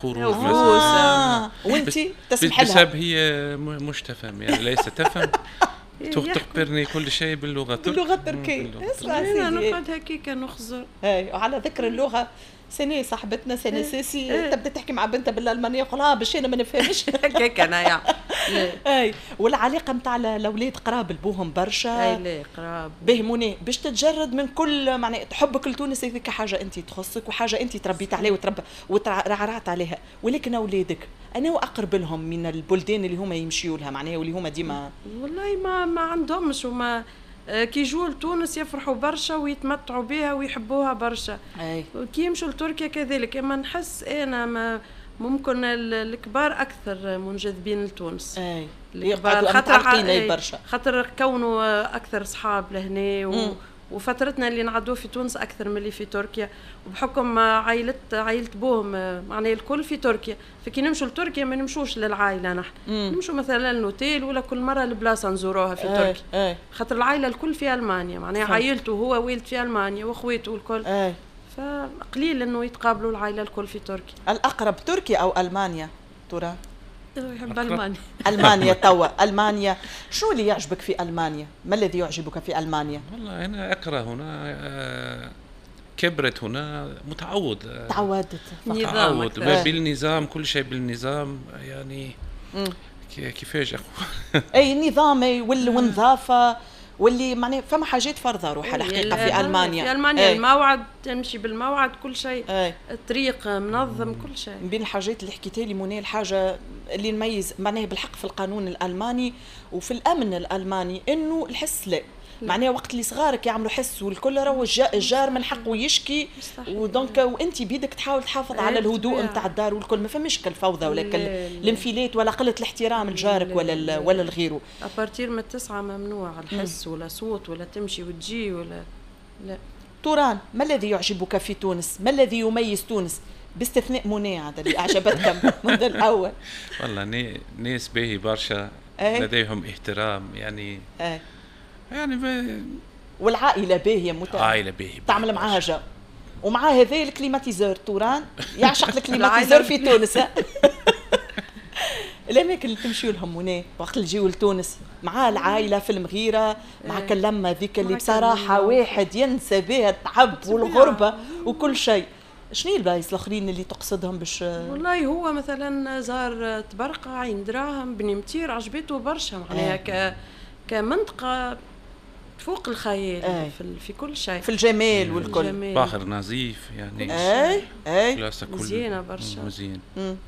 خروج مثلا. وانت تسمح لها؟ بسبب هي مش تفهم، يعني ليس تفهم، تخبرني كل شيء باللغة التركية. باللغة التركية. اسمع سيدي، انا نقعد هكاك نخزر. اي، وعلى ذكر اللغة، سنة صاحبتنا سنة سيسي تبدا تحكي مع بنتها بالالمانيه، يقول باش انا ما نفهمش. هكاك انا. اي، والعلاقة نتاع الاولاد قراب لبوهم برشا. اي لا قراب. به منى باش تتجرد من كل معناها حبك لتونس، هذيك حاجة انت تخصك وحاجه انت تربيت عليها وتربى وترعرعت عليها، ولكن اولادك انا اقرب لهم من البلدان اللي هما يمشيوا لها معناها واللي هما ديما؟ والله ما عندهمش، وما كي يجوا لتونس يفرحوا برشا ويتمتعوا بها ويحبوها برشا. كي يمشوا لتركيا كذلك. اما نحس انا ما ممكن الكبار اكثر منجذبين لتونس. الكبار خاطر برشا، خاطر كونوا اكثر صحاب لهنا وفترتنا اللي نعدوه في تونس اكثر من اللي في تركيا، وبحكم عائلة بوهم معناها الكل في تركيا، فكي نمشوا لتركيا ما نمشوش للعائلة نحن، نمشوا مثلا للاوتيل ولا كل مرة البلاصة نزوروها في تركيا. خاطر العائلة الكل في المانيا، معناها عائلته هو والد في المانيا واخواته الكل. فقليل انه يتقابلوا العائلة الكل في تركيا. الاقرب تركيا او المانيا ترى؟ يحب المانيا. المانيا توا، المانيا شو اللي يعجبك في المانيا؟ ما الذي يعجبك في المانيا؟ والله انا اكره هنا، كبرت هنا، متعود. تعودت. متعود بالنظام، كل شيء بالنظام يعني. كيفاش اقول؟ اي النظام والنظافة واللي معناها فما حاجات فرضه روحها الحقيقة في المانيا. في المانيا الموعد، تمشي بالموعد، كل شيء. الطريق منظم، كل شيء. من بين الحاجات اللي حكيتها لي منى، الحاجة اللي نميز معناها بالحق في القانون الالماني وفي الامن الالماني انه الحس لا، معناها وقت اللي صغارك يعملوا حس والكل، راهو الجار من حقه يشكي، و donc وانت بيدك تحاول تحافظ على الهدوء نتاع الدار والكل، ما فماش كالفوضى ولا الانفلات ولا قلة الاحترام لجارك ولا لغيره. à partir من 9 ممنوع الحس ولا صوت ولا تمشي وتجي ولا لا. توران، ما الذي يعجبك في تونس؟ ما الذي يميز تونس؟ باستثناء منى هذا اللي اعجبتك منذ الاول. والله ناس باهي برشا، لديهم احترام يعني. يعني والعائلة باهيه. عائلة باهيه. تعمل معاها جو، ومع هذا ال climatiseur، توران يعشق ال climatiseur في تونس. الاماكن اللي تمشيوا لهم منى وقت اللي تجيو لتونس مع العائلة في المغيرة، مع كلمة ذيك اللي بصراحة واحد ينسى بها التعب والغربة وكل شيء، شنو البلايص الاخرين اللي تقصدهم باش؟ والله هو مثلا زار تبرقه، عين دراهم، بني متير، عجبته برشا معناها كمنطقه فوق الخيال. في كل شيء، في الجمال والكل. بحر نظيف يعني. اي اي، مزيانه برشا. مزيان.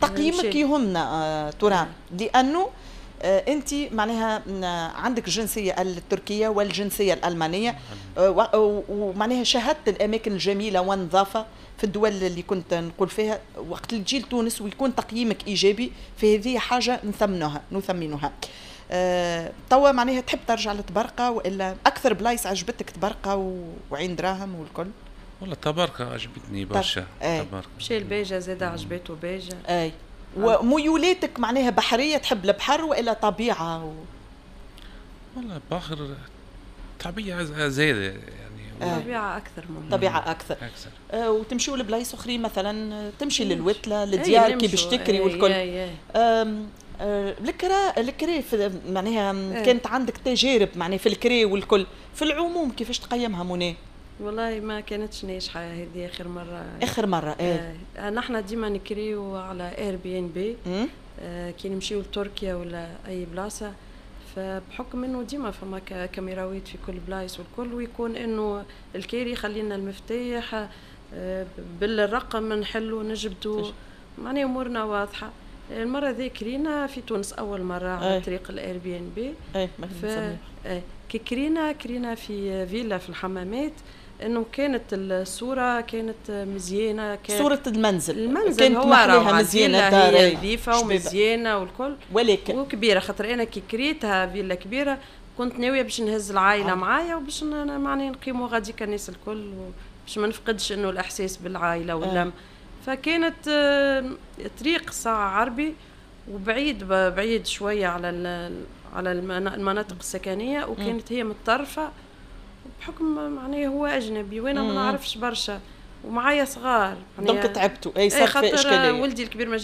تقييمك يهمنا توران، لانه انت معناها عندك الجنسية التركية والجنسيه الالمانية، ومعناها شاهدت الاماكن الجميلة والنظافة في الدول اللي كنت نقول فيها. وقت اللي تجي لتونس ويكون تقييمك ايجابي، فهذه حاجة نثمنها. توا معناها تحب ترجع لتبرقة والا اكثر بلايص عجبتك تبرقة وعين دراهم والكل؟ والله تبرقة عجبتني برشا. تبرقة. مشى الباجة زاد عجبته باجة. اي، وميولاتك معناها بحرية، تحب البحر والا طبيعة؟ والله بحر، طبيعة زايدة يعني. طبيعة أكثر ممكن. طبيعة أكثر. وتمشيوا لبلايص أخرين مثلا، تمشي للوتلة، للديار كي باش تكري والكل. الكري معناها كانت عندك تجارب معناها في الكري والكل، في العموم كيفاش تقيمها منى؟ والله ما كانتش ناجحة هذه آخر مرة. آخر مرة. نحن ديما نكريو على Airbnb كي نمشيو لتركيا ولا أي بلاصة، فبحكم انه ديما فما كاميراوات في كل بلايص والكل، ويكون انه الكاري يخلينا المفتاح بالرقم نحلو نجبدو، معناها امورنا واضحة. المرة ذي كرينا في تونس اول مرة على طريق ال Airbnb. كي كرينا في فيلا في الحمامات، انه كانت الصورة كانت مزيانه، كانت صوره المنزل كانت هو محليها مزيانه، الدار نظيفة ومزيانه والكل، ولكن وكبيره. خاطر انا كي كريتها فيلا كبيرة كنت ناوية باش نهز العائلة معايا وباش معناها نقيموا غاديك الناس الكل، باش ما نفقدش انه الاحساس بالعائلة واللم. فكانت طريق ساعة عربي وبعيد بعيد شوية على المناطق السكنية، وكانت هي متطرفة بحكم معناها هو اجنبي وانا ما نعرفش برشا. ومعايا صغار. donc تعبتوا، اي صار في اشكاليه. ولدي الكبير ما